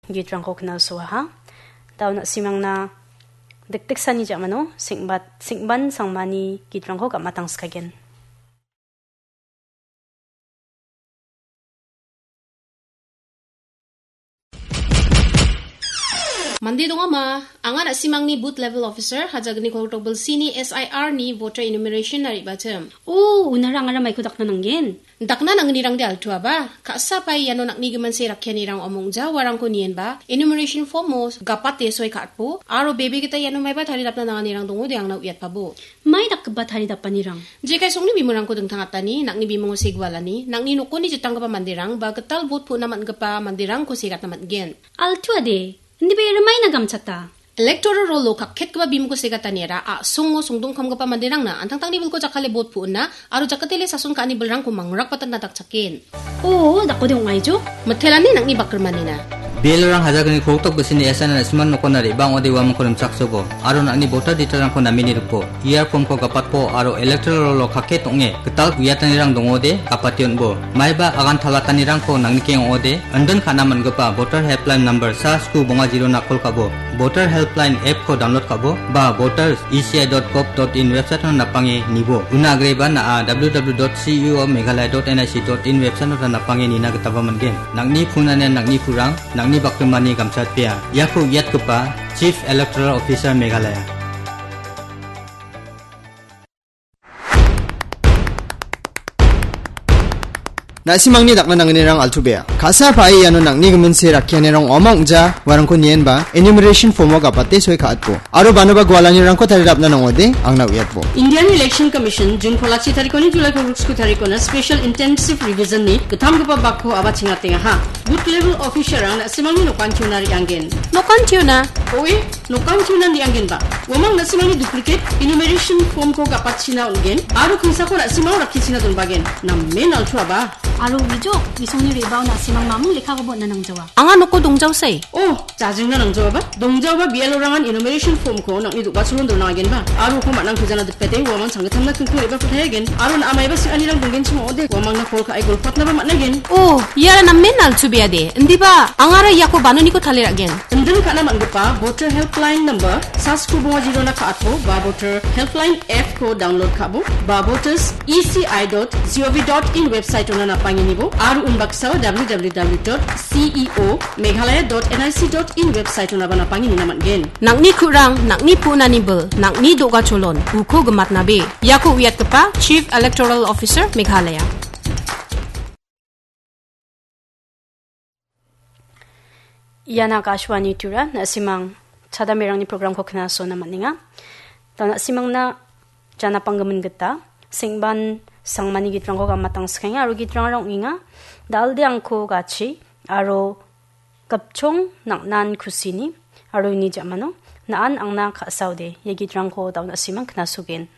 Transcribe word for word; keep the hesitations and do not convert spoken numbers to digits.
gitrangko knasoaha. Dao na·simangna dikdiksani ja·mano sengbat-, sengban sangmani gitrangko gam·atangskagen. Mande dongama, anga na·simangni booth level officer, Hajalgni Kolgrikdal Bilsini S I R ni voter enumeration-na re·bachim. O, unara angara maiko dakna nanggen? Dakna nangnirangde altuaba, ka·sa pae iano nang·ni giminse rakkianirang ong·ja uarangko nienba, enumeration form-o gapate soi ka·atbo, aro bebe gita iano maiba taridapna nanganirang dongode angna uiatpabo. Mai dakgipa taridapanirang? Jekai songni bimungko dingtangatani, nang·ni bimungo segualani, nang·ni nokoni jitanggipa manderang ba gital vote pu·na man·gipa manderangko segatna man·gen. Altuade, indiba iara maina gamchata? Electoral roll-o kakketgipa bimungko segataniara a·songo songdongkamgipa manderangna an·tangtangni bilko jakkale vote pu·na aro jakatele sason ka·ani bilrangko mangrakbatanna dakchaken. O, dakode ong·aijo? Mitelani nang·ni bakrimanina. B L O-rang Hajalgni Kolgrikdal Bilsini S I R na·simang nokona re·bang ong·ode uamangko rimchaksobo, aro nang·ni voter detail-rangko nameni ripo, E R form-ko gapatpo, aro electoral roll-o kakket ong·e gital uiatanirang dongode gapate on·bo. Maiba agan talatanirangko nang·nikeng ong·ode, indin ka·na man·gipa voter helpline number sa sku bonga zero-na call ka·bo, voter helpline app-ko download ka·bo, ba voters E C I dot gov dot in website-o napange nibo. Una agreba na·a W W W dot C E O Meghalaya dot N I C dot in website-o napange nina gitaba man·gen. Nang·ni phone-ani nang·ni purang, nang·ni bakrimani gamchatpea. Iako uiatgipa Chief Electoral Officer Meghalaya. Na·simangni dakna nangnirang altuabea. Ka·sa pae iano nang·ni giminse rakkianirang ong·ja uarangko nienba enumeration form-o gapate soi ka·atbo. Aro banoba gualanirangko taridapna nangode angna uiatbo. Indian Election Commission June kolachi tarikoni July kolgriksku tarikona Special Intensive Revision-ni gittamgipa bakko aba chingatengaha. Booth level officer-rang na·simangni nokan tiona re·angen. Nokan tiona? Oe, nokan tiona re·angenba. Uamang na·simangni duplicate enumeration form-ko gapatchina on·gen, aro kingsako na·simang rakkichina donbagen. Namen altuaba. Aro uijo, isongni re·bao na·simang mamung lekkakoba on·na nangjawa. Anga noko dongjaosai. Oh, jajingna nangjaoba. Dongjaoba B L O-rangan enumeration form-ko nang·ni do·gacholon donagenba. Aro uko man·ang pejana dipete, uamang changgitamna kingko re·bako tayagen. Aro na·a maiba sing·anirang donggenchim ong·ode, uamangna call ka·e golpatnaba man·agen. Oh, iara namen altubeade. Indiba, angara iako banoniko taliragen. Indin ka·na man·gipa voter helpline number sa sku bonga zero-na ka·atbo ba voter helpline app-ko download ka·bo ba voters E C I dot gov dot in website-ona napangenibo aro unbaksao W W W dot C E O Meghalaya dot N I C dot in website-onaba napangeni na man·gen. Nang·ni ku·rang, nang·ni pu·nani bil, nang·ni do·gacholon, uko gimatnabe. Iako uiatgipa Chief Electoral Officer Meghalaya. Ian Akashvani Tura, na·simang chadamerangni program-ko knasona man·enga. Da na·simangna janapanggimin gita, sengban sangmani gitrangko gamatangsikenga, aro gitrangara ong·enga, Dalde angko gachi, aro gipchong nang·nan kusini, aro uni ja·mano, na·an angna ka·saode, ia gitrangko da na·simang knasogen.